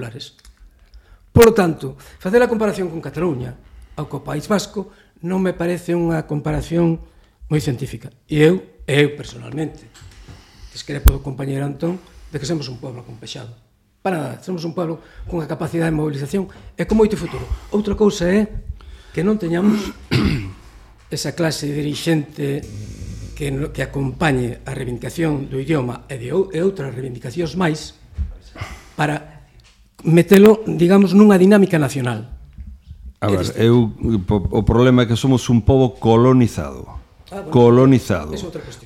populares. Por lo tanto, facer a comparación con Cataluña ou co País Vasco non me parece unha comparación moi científica. E eu personalmente, discrepo do compañeiro Antón, de que somos un pueblo acompexado. Para nada, somos un pueblo con a capacidade de mobilización e con moito futuro. Outra cousa é que non teñamos esa clase dirixente que acompañe a reivindicación do idioma e outras reivindicacións máis para metelo, digamos, nunha dinámica nacional. A ver, o problema é que somos un pobo colonizado,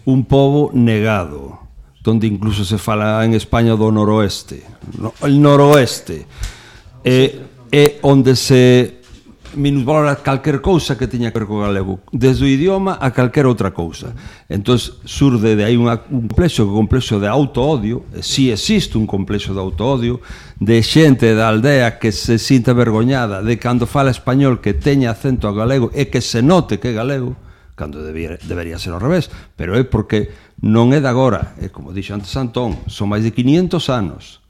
un pobo negado, donde incluso se fala en España do noroeste, el noroeste, é onde se minusvalora calquer cousa que teña que ver co galego, desde o idioma a calquer outra cousa. Entón, surde de aí un complexo de auto-odio, si existe un complexo de auto-odio, de xente da aldea que se sinta vergoñada de cando fala español que teña acento galego e que se note que é galego, cando debería ser ao revés, pero é porque non é de agora, é como dixo antes Antón, son máis de 500 anos,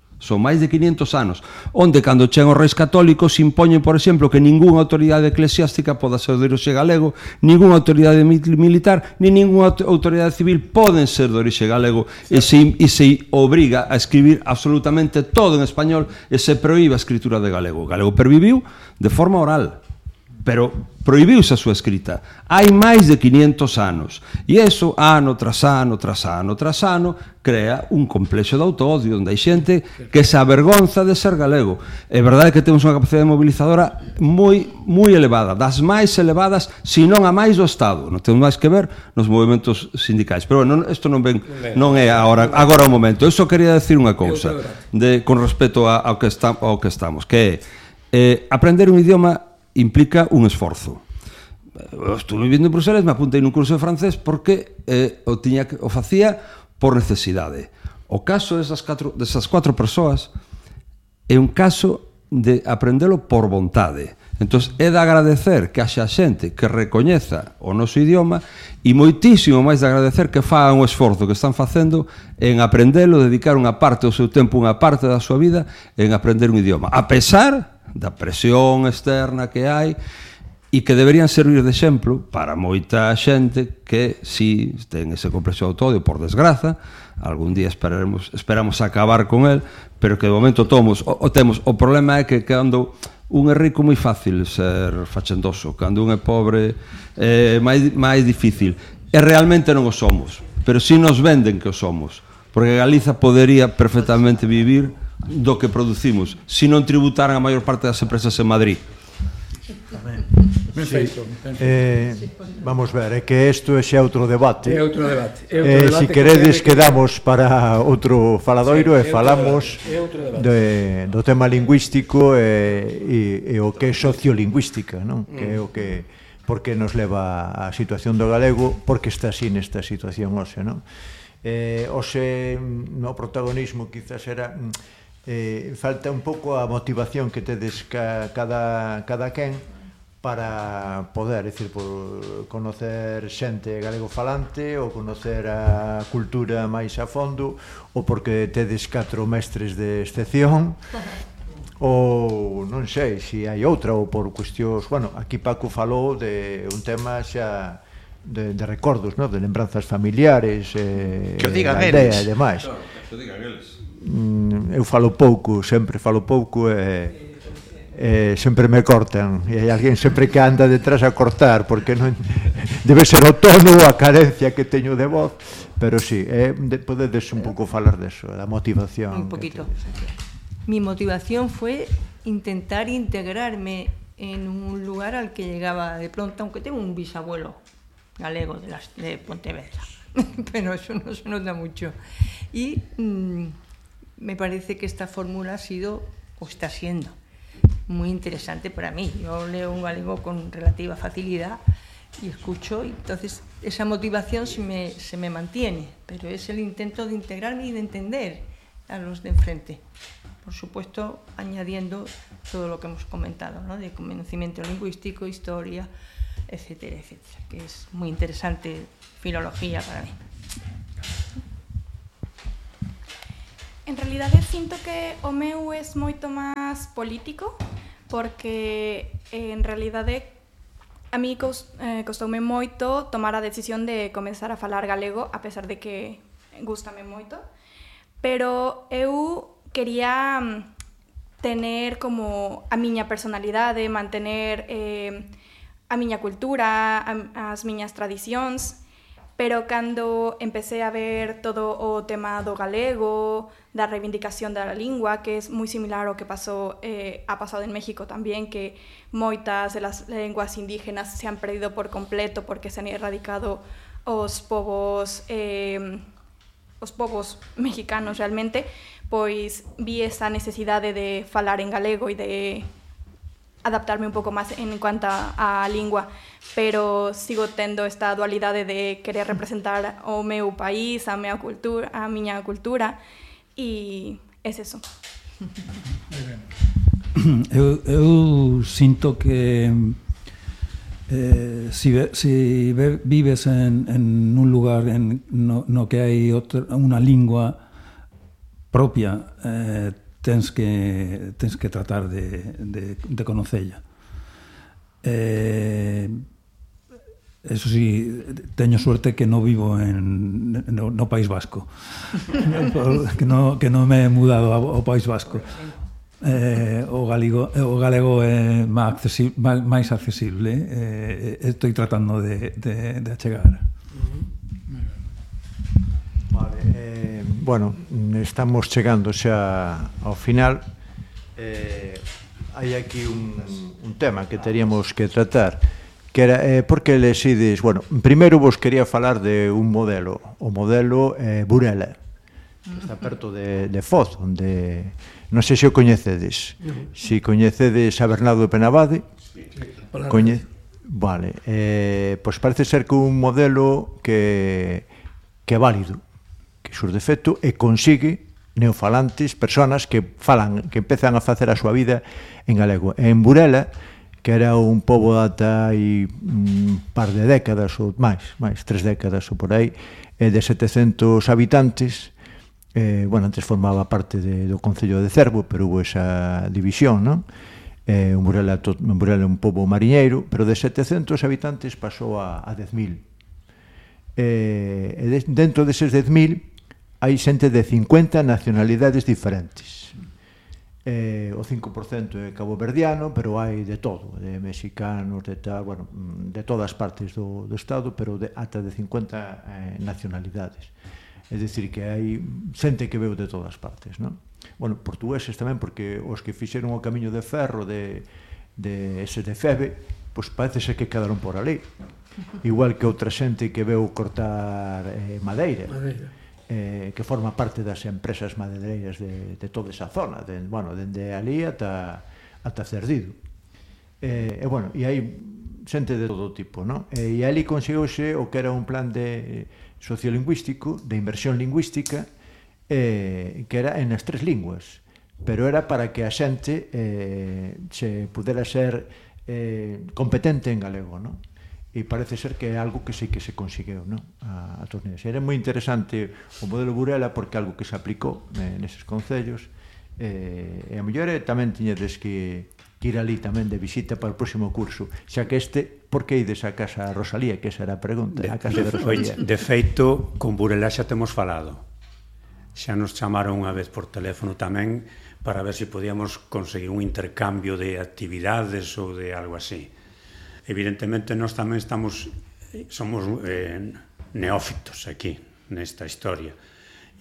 onde cando chegan os reis católicos impoñen, por exemplo, que ningunha autoridade eclesiástica poda ser de orixe galego, ningunha autoridade militar, ni ningunha autoridade civil poden ser de orixe galego, e se obriga a escribir absolutamente todo en español e se proíbe a escritura de galego. O galego perviviu de forma oral, pero prohibiuse a súa escrita hai máis de 500 anos, e iso ano tras ano crea un complexo de auto-odio onde hai xente que se avergonza de ser galego. É verdade que temos unha capacidade mobilizadora moi elevada, das máis elevadas, se non a máis do Estado. Non temos máis que ver nos movimentos sindicais, pero bueno, isto non é agora o momento. Eu só quería decir unha cousa con respecto ao que estamos, que é aprender un idioma implica un esforzo. Estou vivindo en Bruselas, me apuntei nun curso de francés porque o facía por necesidade. O caso desas 4 persoas é un caso de aprendelo por vontade. Entón, é de agradecer que haxa xente que recoñeza o noso idioma e moitísimo máis de agradecer que fagan o esforzo que están facendo en aprendelo, dedicar unha parte do seu tempo, unha parte da súa vida en aprender un idioma, a pesar da presión externa que hai e que deberían servir de exemplo para moita xente que si ten ese complexo de auto-odio, por desgraza, algún día esperamos acabar con el, pero que de momento temos. O problema é que cando un é rico moi fácil ser fachendoso, cando un é pobre é máis difícil, e realmente non o somos, pero si nos venden que o somos, porque Galiza podería perfectamente vivir do que producimos, se non tributaran a maior parte das empresas en Madrid. Vamos ver, é que isto é xa outro debate. Se queredes quedamos para outro faladoiro e falamos do tema lingüístico e o que é sociolingüística, non? Que é o que porque nos leva a situación do galego, porque está así nesta situación hoxe, non? Hoxe no protagonismo quizás era falta un pouco a motivación que tedes cada quen para poder, é dicir, por conocer xente galego falante ou conocer a cultura máis a fondo, ou porque tedes 4 mestres de excepción, ou non sei se hai outra, ou por cuestións, bueno, aquí Paco falou de un tema xa de recordos, de lembranzas familiares, que o digan eles e demais. Que o digan eles. Eu falo pouco, sempre falo pouco e sempre me cortan e hai alguén sempre que anda detrás a cortar porque non debe ser o tono ou a carencia que teño de voz, pero sí, podedes un pouco falar deso, da motivación. Un poquito. Mi motivación fue intentar integrarme en un lugar al que llegaba de pronto, aunque tengo un bisabuelo galego de Pontevedra, pero eso no se nota mucho. Y me parece que esta fórmula ha sido, o está siendo, muy interesante para mí. Yo leo un galego con relativa facilidad y escucho, y entonces esa motivación se me mantiene, pero es el intento de integrarme y de entender a los de enfrente. Por supuesto, añadiendo todo lo que hemos comentado, ¿no? De conocimiento lingüístico, historia, etcétera, etcétera, que es muy interesante filología para mí. realidade sinto que o meu é moito máis político, porque en realidade a mí costoume moito tomar a decisión de comezar a falar galego, a pesar de que gústame moito, pero eu quería tener como a miña personalidade, mantener a miña cultura, as miñas tradicións, pero cando empecé a ver todo o tema do galego, da reivindicación da lingua, que é moi similar ao que ha pasado en México tamén, que moitas das lenguas indígenas se han perdido por completo porque se han erradicado os povos mexicanos realmente, pois vi esa necesidade de falar en galego e de adaptarme un pouco máis en cuanto á lingua, pero sigo tendo esta dualidade de querer representar o meu país, a miña cultura, e é eso. Eu sinto que si vives en un lugar no que hai unha lingua propia, tens que tratar de conocella. Eso sí, teño suerte que non vivo no País Vasco, que non me he mudado ao País Vasco. O galego é máis accesible, estou tratando de achegar. Vale, bueno, estamos chegando xa ao final. Hai aquí un tema que teríamos que tratar, que era por que lesides. Bueno, primeiro vos quería falar de un modelo, o modelo Burela, que está perto de Foz, onde non sei se o coñecedes. Se coñecedes a Bernardo de Penabade, vale, pois parece ser que un modelo que é válido, que surde efecto e consigue neofalantes, personas que empezan a facer a súa vida en galego. En Burela, que era un pobo ata hai un par de décadas ou máis 3 décadas ou por aí, de 700 habitantes. Bueno, antes formaba parte do Concello de Cervo, pero hubo esa división, non? En Burela é un pobo mariñeiro, pero de 700 habitantes pasou a 10.000. Dentro deses 10.000 hai xente de 50 nacionalidades diferentes. O 5% é caboverdiano, pero hai de todo, de mexicanos, de todas partes do Estado, pero ata de 50 nacionalidades. É dicir, que hai xente que veu de todas partes, non? Bueno, portugueses tamén, porque os que fixeron o camiño de ferro de ese de Febe, pois parece ser que quedaron por ali. Igual que outra xente que veu cortar madeira, que forma parte das empresas madeireiras de toda esa zona, dende ali ata Cerdido. E hai xente de todo tipo, non? E ali conseguiuse o que era un plan sociolingüístico, de inversión lingüística, que era en as 3 linguas, pero era para que a xente se pudera ser competente en galego, non? E parece ser que é algo que sí que se conseguiu, non? A Torneiras. Era moi interesante o modelo Burela porque é algo que se aplicou neses concellos, e a mellor tamén tiñedes que ir ali tamén de visita para o próximo curso, xa que por que ides a Casa Rosalía, que esa era a pregunta, a Casa de Rosalía. De feito, con Burela xa temos falado, xa nos chamaron unha vez por teléfono tamén para ver se podíamos conseguir un intercambio de actividades ou de algo así. Evidentemente, nós tamén somos neófitos aquí, nesta historia.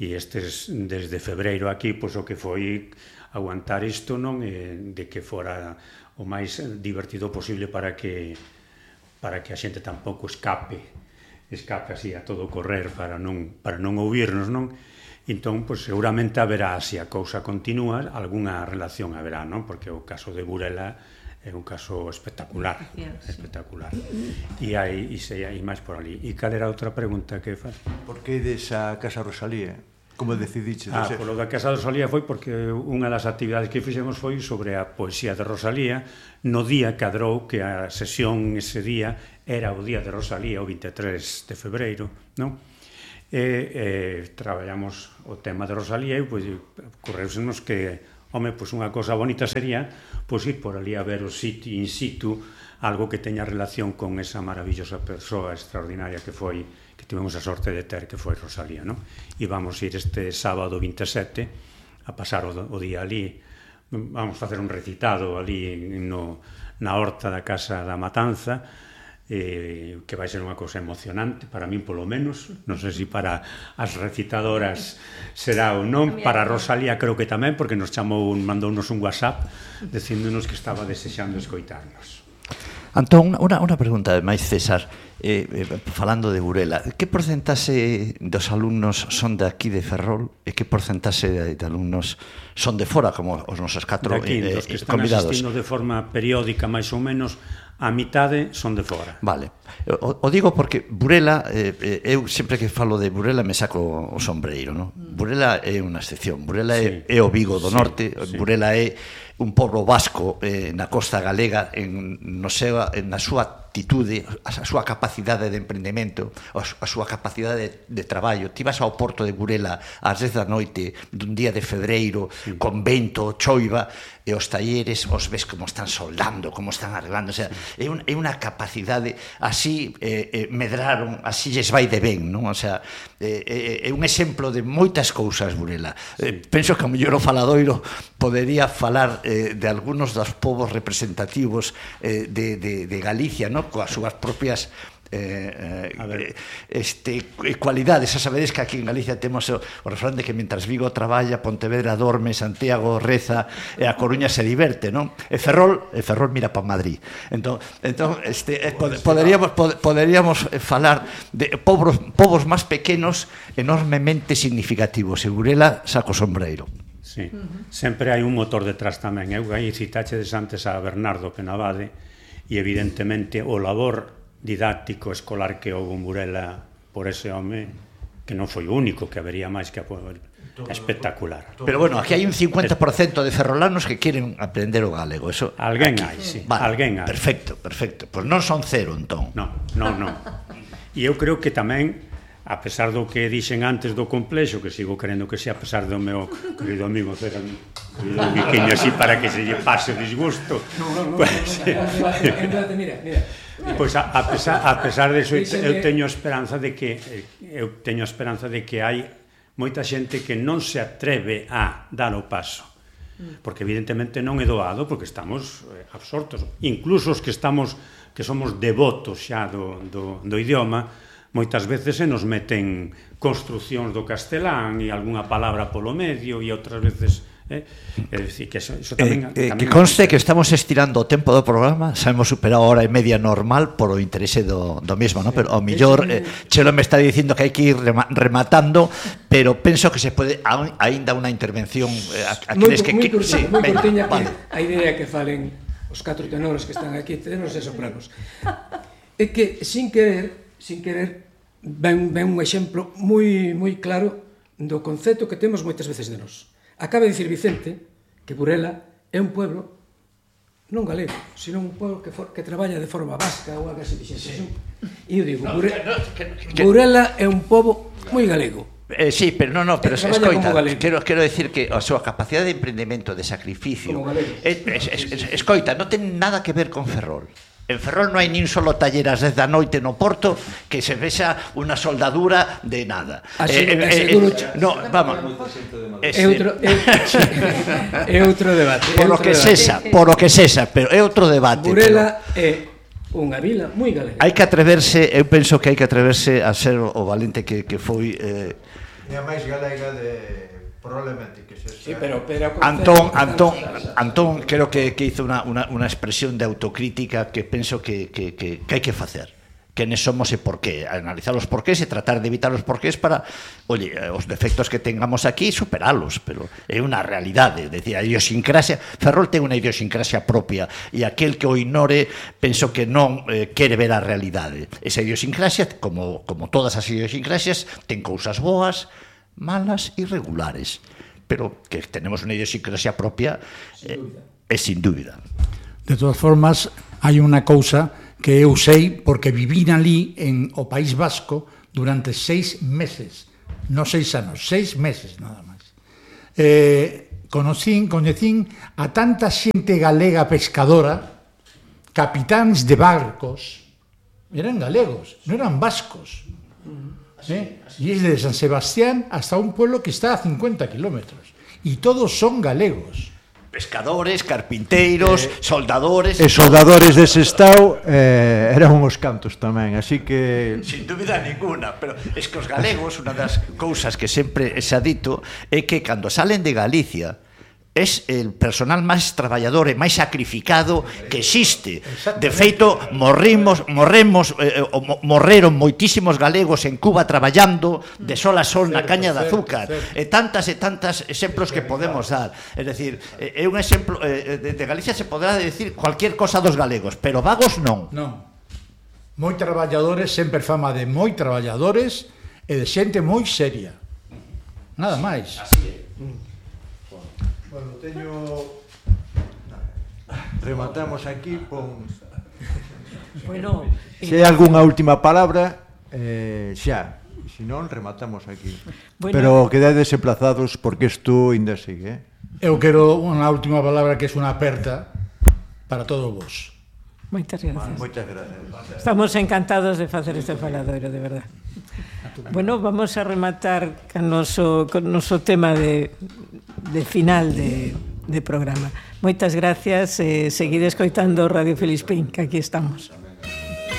E desde febreiro aquí, pois o que foi aguantar isto, non? De que fora o máis divertido posible para que a xente tampouco escape así a todo correr para non ouvirnos, non? Entón, pois seguramente haberá, se a cousa continúa, algunha relación haberá, non? Porque o caso de Burela é un caso espectacular, espectacular. E hai máis por ali. E cal era outra pregunta que faz? Por que ides a Casa Rosalía? Como decidiches? Polo da Casa Rosalía foi porque unha das actividades que fixemos foi sobre a poesía de Rosalía. No día cadrou que a sesión ese día era o día de Rosalía, o 23 de febreiro, non? e traballamos o tema de Rosalía e pois ocorreusenos que, home, pois unha cosa bonita sería pois ir por ali a ver o sitio in situ, algo que teña relación con esa maravillosa persoa extraordinaria que foi, que tivemos a sorte de ter, que foi Rosalía, non? E vamos ir este sábado 27 a pasar o día ali, vamos facer un recitado ali na horta da Casa da Matanza, que vai ser unha cousa emocionante para min polo menos, non sei se para as recitadoras será ou non, para Rosalía creo que tamén, porque nos mandounos un WhatsApp dicíndonos que estaba desexando escoitarnos. Antón, unha pregunta máis, César, falando de Burela, que porcentaxe dos alumnos son de aquí de Ferrol e que porcentaxe de alumnos son de fora, como os nosos 4 dos que están convidados? Asistindo de forma periódica, máis ou menos, a mitade son de fora. Vale. O digo porque Burela, eu sempre que falo de Burela me saco o sombreiro, non? Burela é unha excepción. Burela é o Vigo do Norte, Burela é un pobo vasco na costa galega na súa actitude, a súa capacidade de emprendemento, a súa capacidade de traballo. Ti vas ao porto de Burela ás 10 da noite dun día de febreiro, con vento, choiva, e os talleres os ves como están soldando, como están arreglando, o sea, é unha capacidade, así medraron, así lles vai de ben, non? O sea, é un exemplo de moitas cousas Burela. Penso que o mellor o faladoiro podería falar de algunos dos povos representativos de Galicia, non? Coas súas propias cualidades. Xa sabedes que aquí en Galicia temos o refrán de que mentras Vigo traballa, Pontevedra dorme, Santiago reza e a Coruña se diverte, non? E Ferrol mira para Madrid. Entón poderíamos falar de povos máis pequenos enormemente significativos. E Burela saco sombreiro. Sí, sempre hai un motor detrás tamén. Eu aí citachedes antes a Bernardo Penabade e evidentemente o labor didáctico escolar que houve en Burela por ese home, que non foi o único, que habería máis que espectacular. Pero bueno, aquí hai un 50% de ferrolanos que queren aprender o galego. Eso alguén hai, sí. Vale, alguén hai. Perfecto. Pois non son cero, entón. Non. E eu creo que tamén, a pesar do que dixen antes do complexo, que sigo querendo que sea, a pesar do meu querido amigo César, un biquiño así para que se lle pase o disgusto. Mira. Pois a pesar de eso, eu teño esperanza de que hai moita xente que non se atreve a dar o paso, porque evidentemente non é doado, porque estamos absortos, incluso os que somos devotos xa do idioma, moitas veces se nos meten construcións do castelán e algunha palabra polo medio, e outras veces é dicir que eso tamén que conste que estamos estirando o tempo do programa, sabemos superar a hora e media normal por o interese do mesmo, ¿no? Pero ao mellor Chelo me está dicindo que hai que ir rematando, pero penso que se pode aínda unha intervención moi curtiña, a idea que falen os 4 tenores que están aquí, tenores e sopranos, é que sin querer ven un exemplo moi claro do concepto que temos moitas veces de nós. Acaba de dicir Vicente que Burela é un pueblo non galego, sino un pueblo que traballa de forma vasca ou algo así. E eu digo, Burela é un pobo moi galego. Sí, pero escoita, quero decir que a súa capacidade de emprendemento, de sacrificio, escoita, non ten nada que ver con Ferrol. En Ferrol non hai nin solo taller ás 10 da noite no Porto que se vexa unha soldadura de nada. No, vamos. É outro debate. Por o que sexa, pero é outro debate. Burela é unha vila moi galega. Hai que atreverse, eu penso que hai que atreverse a ser o valente que foi. É a máis galega de probablemente que se... Sí, pero Antón creo que hizo unha expresión de autocrítica que penso que hai que facer. Quenes somos e por qué, analizar os porqués e tratar de evitar os porqués para, os defectos que tengamos aquí, superalos, pero é unha realidade, decir, a idiosincrasia, Ferrol ten unha idiosincrasia propia e aquel que o ignore, penso que non quere ver a realidade. Esa idiosincrasia, como todas as idiosincrasias, ten cousas boas, malas e regulares, pero que tenemos unha idiosincrasia propia é sin dúbida. De todas formas, hai unha cousa que eu sei porque vivín ali en o País Vasco durante 6 meses, non 6 anos, 6 meses nada máis. Coñecín a tanta xente galega pescadora, capitáns de barcos, eran galegos, non eran vascos. E es de San Sebastián hasta un pueblo que está a 50 kilómetros. E todos son galegos. Pescadores, carpinteiros, soldadores... E soldadores dese estado eran uns cantos tamén, así que... Sin dúbida ninguna, pero es que os galegos, unha das cousas que sempre se ha dito é que cando salen de Galicia es el personal máis traballador e máis sacrificado que existe. De feito, morreron moitísimos galegos en Cuba traballando de sol a sol na caña de azúcar. E tantas exemplos que podemos dar. É dicir, é un exemplo de Galicia se podrá decir cualquier cosa dos galegos, pero vagos non. Non. Moi traballadores, sempre fama de moi traballadores e de xente moi seria. Nada máis. Así é. Bueno, rematamos aquí con... Bueno, se hai algunha última palabra, xa, se non, rematamos aquí. Bueno, pero quedades emplazados porque isto ainda sigue. Eu quero unha última palabra que é unha aperta para todos vos. Moitas gracias. Moitas gracias. Estamos encantados de facer este faladoiro, de verdad. Bueno, vamos a rematar con noso tema de final de programa. Moitas gracias, seguide escoitando Radio Felispín, que aquí estamos.